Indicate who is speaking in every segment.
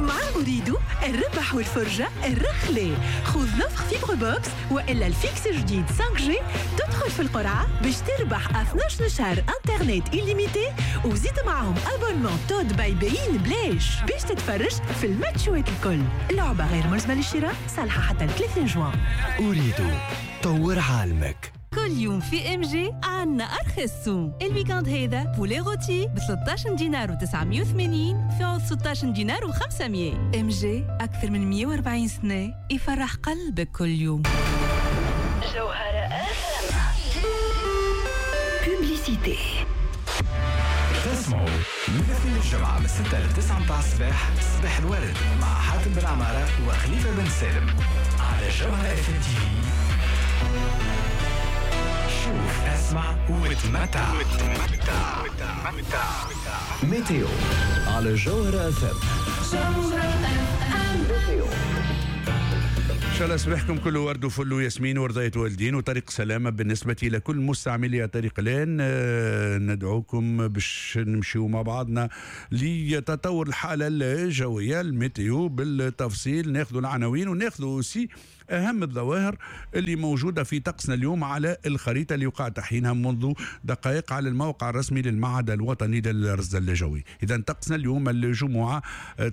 Speaker 1: مع أوريدو الربح والفرجة الرخلة. خذ l'offre fibre box وإلا ال fixe جديد 5G، تدخل في القرعة باش تربح 12 شهر انترنت illimité، وزيد معاهم abonnement TOD by beIN بلاش باش تتفرج في الماتشوات الكل. لعبة غير ملزمة للشراء، صالحة حتى 30 جوان.
Speaker 2: أوريدو، طور عالمك.
Speaker 3: كل يوم في MG عنا ارخص سوم. ال week-end هذا poulet rôti ب 13 دينار و980 في عوض 16 دينار و500. MG اكثر من 140 سنة يفرح قلبك كل يوم.
Speaker 4: جوهرة publicité.
Speaker 2: تسمعوا من اثنين الجمعة من 6 ل 9 متاع الصباح، صباح الورد مع حاتم بن عمارة وخليفة بن سالم على جوهرة FM TV. شوف، اسمع وتمتع. météo على جوهرة FM.
Speaker 5: ان شاء الله صباحكم كله ورد وفل وياسمين ورضاية والدين وطريق سلامة بالنسبة لكل مستعملي طريق لين. ندعوكم باش نمشيو مع بعضنا لتطور الحالة الجوية، ال météo بالتفصيل، ناخذ العناوين وناخذ aussi أهم الظواهر اللي موجودة في طقسنا اليوم على الخريطة اللي وقع تحيينها منذ دقائق على الموقع الرسمي للمعهد الوطني للرصد الجوي. إذا طقسنا اليوم الجمعة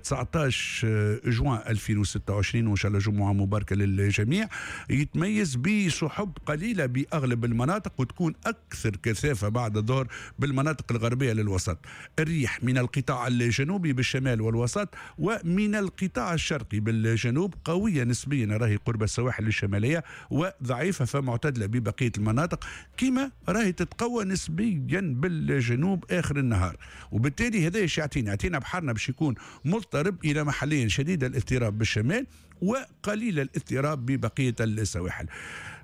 Speaker 5: 19 جوان 2026، وإن شاء الله جمعة مباركة للجميع، يتميز بسحب قليلة بأغلب المناطق وتكون أكثر كثافة بعد الظهر بالمناطق الغربية للوسط. الريح من القطاع الجنوبي بالشمال والوسط ومن القطاع الشرقي بالجنوب قوية نسبيا، راهي قرب السواحل الشمالية، وضعيفة فمعتدلة ببقية المناطق، كما راهي تتقوى نسبيا بالجنوب آخر النهار. وبالتالي هذا ايش يعطينا؟ يعطينا بحرنا باش يكون مضطرب إلى محليا شديد الاضطراب بالشمال وقليل الاضطراب ببقية السواحل.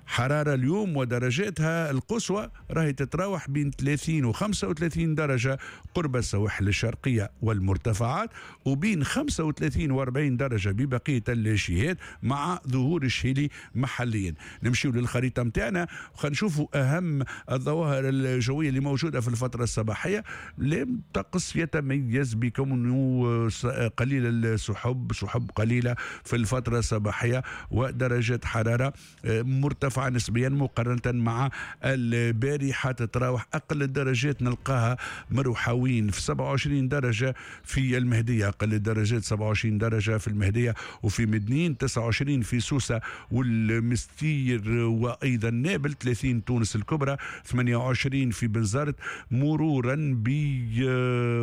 Speaker 5: حرارة اليوم ودرجاتها القصوى راهي تتراوح بين 30 و 35 درجة قرب السواحل الشرقية والمرتفعات، وبين 35 و 40 درجة ببقية الجهات مع ظهور الشهيلي محليا. نمشيو للخريطة متاعنا وخلينا نشوفوا أهم الظواهر الجوية اللي موجودة في الفترة الصباحية. الطقس يتميز بكونه قليل السحب، سحب قليلة في الفترة الصباحية، ودرجات حرارة مرتفعة نسبيا مقارنة مع البارحة، تتراوح أقل الدرجات نلقاها مروحوين في 27 درجة في المهدية، أقل الدرجات 27 درجة في المهدية وفي مدنين، 29 في سوسة والمستير وأيضا نابل، 30 تونس الكبرى، 28 في بنزرت، مرورا ب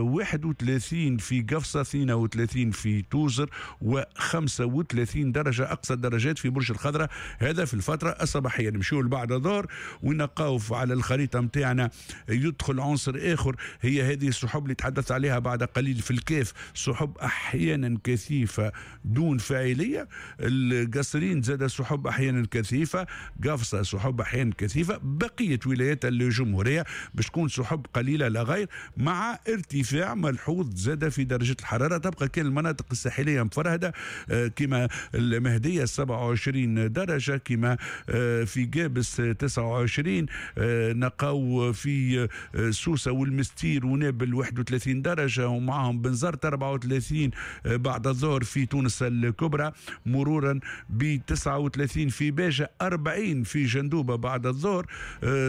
Speaker 5: 31 في قفصة، 32 في توزر، و35 درجة أقصى الدرجات في برج الخضراء. هذا في الفترة الصباحية. نمشيو لبعد الظهر ونلقاو على الخريطة متاعنا يدخل عنصر آخر، هي هذه السحب اللي تحدثت عليها بعد قليل في الكاف، سحب أحيانا كثيفة دون فاعلية. القصرين زاد سحب أحيانا كثيفة، قفصة سحب أحيانا كثيفة، بقية ولايات الجمهورية باش تكون سحب قليلة لا غير، مع ارتفاع ملحوظ زاد في درجة الحرارة. تبقى كان المناطق الساحلية مفرهدة كما المهدية 27 درجة، كما في قابس 29، نقاو في سوسة والمستير ونابل 31 درجة، ومعهم بنزرت 34 بعد الظهر في تونس الكبرى، مرورا ب 39 في باجة، 40 في جندوبة بعد الظهر،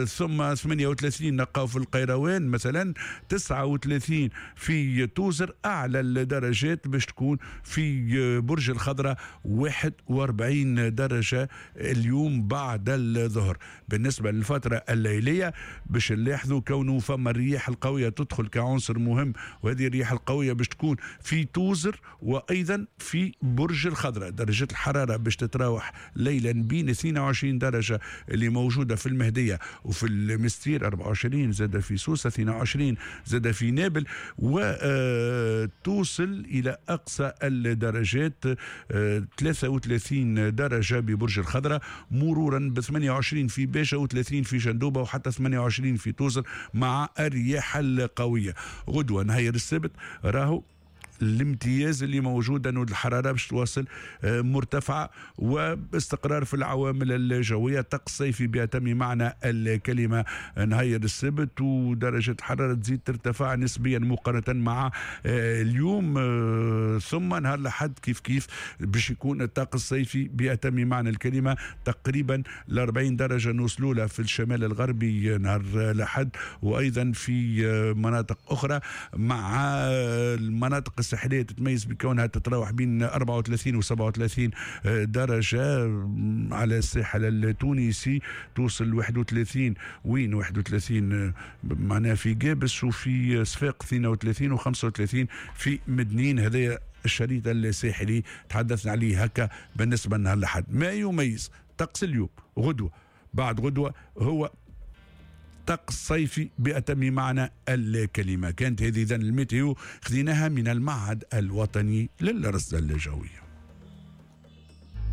Speaker 5: ثم 38 نقاو في القيروان مثلا، 39 في توزر. أعلى الدرجات باش تكون في برج الخضراء 41 درجة اليوم بعد الظهر. بالنسبة للفترة الليلية باش نلاحظوا كونه فما الرياح القوية تدخل كعنصر مهم، وهذه الرياح القوية باش تكون في توزر وأيضا في برج الخضراء. درجة الحرارة باش تتراوح ليلا بين 22 درجة اللي موجودة في المهدية وفي المستير، 24 زاد في سوسة، 22 زاد في نابل، وتوصل إلى أقصى الدرجات 33 درجة ببرج الخضراء، مرورا ب 28 في باشا و30 في جندوبة وحتى 28 في توزر مع الرياح القوية. غدوة نهار السبت راهو الامتياز اللي موجود انه الحرارة باش تواصل مرتفعة واستقرار في العوامل الجويه، طقس صيفي بأتم معنى الكلمة نهار السبت، ودرجة الحرارة تزيد ترتفع نسبيا مقارنة مع اليوم. ثم نهار الاحد كيف كيف باش يكون الطقس الصيفي بأتم معنى الكلمه، تقريبا ل 40 درجه نوصلوا لها في الشمال الغربي نهار الاحد، وايضا في مناطق اخرى، مع المناطق الساحلية تتميز بكونها تتراوح بين 34 و 37 درجه على الساحل التونسي، توصل 31، وين 31 معناها في قابس وفي صفاقس 32 و35 في مدنين. هذا الشريط الساحلي تحدثنا عليه هكا بالنسبة لنهار الاحد. ما يميز طقس اليوم، غدوه، بعد غدوه، هو طقس صيفي بأتم معنى الكلمة. كانت هذه إذن ال météo، خذيناها من المعهد الوطني للرصد الجوية.